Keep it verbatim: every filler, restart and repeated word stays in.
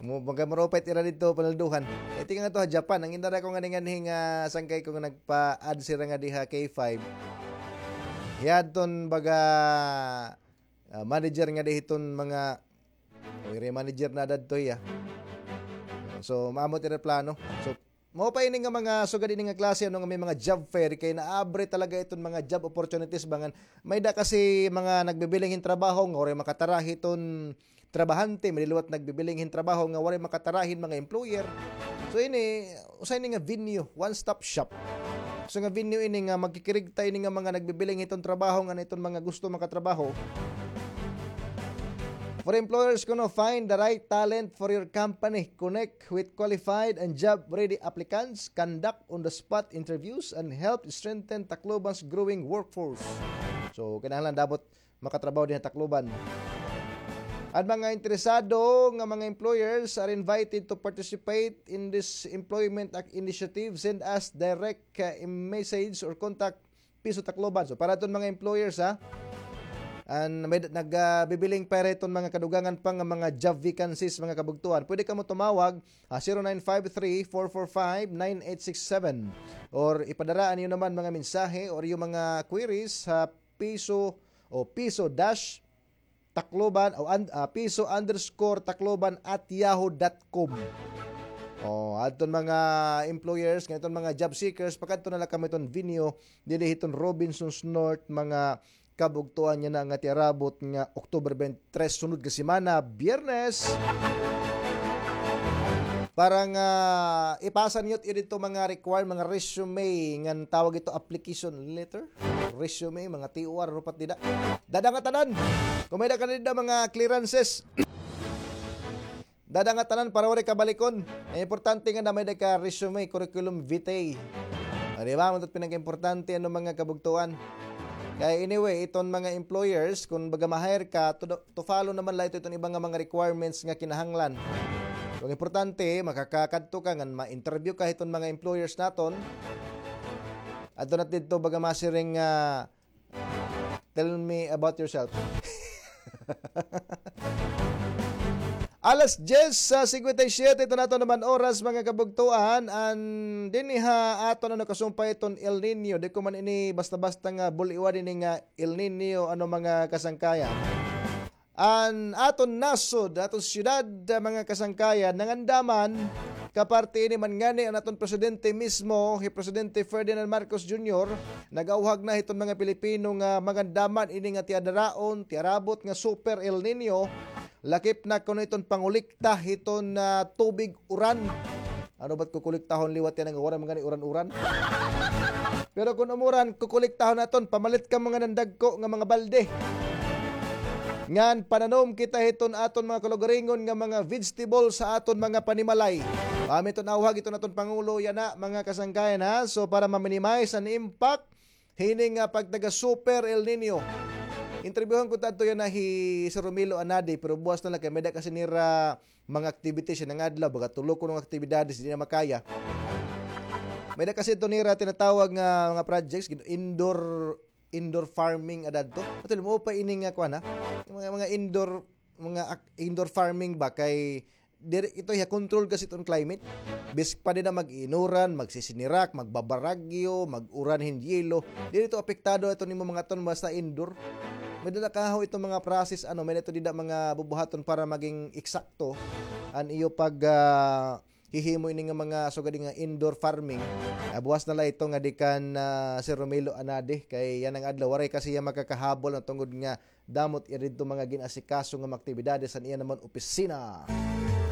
Mo, baga marupay it ira didto, panalduhan. Eh, tingnan nga to ha Japan. An gindara ko ngani nganhi nga sangkay ko nga nagpa-add sira ngadi ha K five. Hiya adton baga, ah, manager ngadi hiton mga, o, ira manager na dadto hiya. So, maamo it ira plano. So, mao pa ini nga mga sugad ini nga klase, ano, nga may mga job fair, kay naabre talaga iton mga job opportunities ba ngan may-ada kasi mga nagbibiling hin trabaho nga waray makatara hiton trabahante, may da liwat nagbibiling hin trabaho nga waray makatara hin mga employer. So ini, usa ini nga venue, one-stop shop. So nga venue ini nga magkikirigta ini nga mga nagbibiling hiton trabaho ngan iton mga gusto makatrabaho. For employers kuno, find the right talent for your company. Connect with qualified and job-ready applicants. Conduct on-the-spot interviews and help strengthen Tacloban's growing workforce. So, kinahanglan dapat makatrabaho dinhi ha Tacloban. An mga interesado nga mga employers are invited to participate in this employment ac-, initiative. Send us direct, uh, message or contact Piso Tacloban. So, para iton mga employers, ha, an may d-, nag, ah, bibiling pa iton mga kadugangan pa nga mga job vacancies, mga kabugtoan. Pwede kamo tumawag, ah, zero nine five three, four four five, nine eight six seven. Or ipadara an iyo naman mga mensahe or iyo mga queries ha Piso o Piso dash Tacloban o un-, ah, piso underscore Tacloban at yahoo dot com. O, adton mga employers, ngan iton mga job seekers, pakadto na la kamo hiton venue, didi hiton Robinsons North, mga kabugtoan, yana nga tiarabot nga October twenty-three, sunod nga semana, Biyernes. Para nga ipasa niyo it iyo didto mga require, mga resume, ngan tawag ito application letter, resume, mga T O R, rupat dida. Dada nga tanan. Kon may-ada ka dida mga clearances. Dada nga tanan para waray ka balikon. An importante nga may-ada ka resume, curriculum vitae. O, di ba? Mao it pinakaimportante, ano, mga kabugtoan. Kay anyway, iton mga employers, kon baga ma-hire ka, to, to follow naman la ito iton iba nga mga requirements nga kinahanglan. So, an importante, makakakadto ka ngan ma-interview ka hiton mga employers naton. Adto na didto baga masiring nga, "Tell me about yourself." Alas diyes, ah, singkwenta y siyete, ito na ito naman oras, mga kabugtoan. An dinhi ha aton, ano, kasumpay iton El Nino. Di ko man ini basta-basta nga bul-iwan ini nga El Nino, ano, mga kasangkayan. An aton nasod, aton siyudad, ah, mga kasangkayan, nangandaman, kaparte ini man ngani an aton presidente mismo, hi Presidente Ferdinand Marcos Junior, nag-awhag na hiton mga Pilipino nga mangandaman ini nga tiadaraon, tiarabot nga Super El Nino, lakip na kuno iton pangulikta hiton, ah, tubig uran. Ano ba't kukuliktahon liwat yana nga waray man gani uran-uran? Pero kon umuran, kukuliktahon naton, pamalit kamo ngan hin dagko nga mga balde. Ngan pananom kita hiton aton mga kalugaringon nga mga vegetable sa aton mga panimalay. Mao iton awhag hiton aton Pangulo yana, mga kasangkayan, ha. So, para ma-minimize an impact hini nga pagtaga Super El Nino. Interbyuhan ko ta adto yana hi Sir Romelo Anadi, pero buwas na la kay may-ada kasi nira mga activities yana nga adlaw, baga tulo kuno nga aktibidades, di na makaya. May-ada kasi ito nira tinatawag nga mga projects, gin-, indoor, indoor farming ada adto. Ato, mao pa ini nga kuan, ha? Mga, mga indoor, mga ak-, indoor farming ba kay diri ito hiya control kasi iton climate. Bisan pa dida mag-iinuran, magsisinirak, magbabaragyo, mag-uran hin yelo, diri ito apektado iton imo mga tan basta indoor. May-ada kaho iton mga process, ano, may-ada ito dida mga bubuhaton para maging eksakto an iyo pag, ah, hihimo ini nga mga sugad nga indoor farming. Ah, buwas na la ito ngadi kan, ah, Sir Romelo Anadi kay yana nga adlaw waray kasi hiya makakahabol na tungod nga damo it iya didto mga gin-asikaso nga mga aktibidades han iya naman opisina.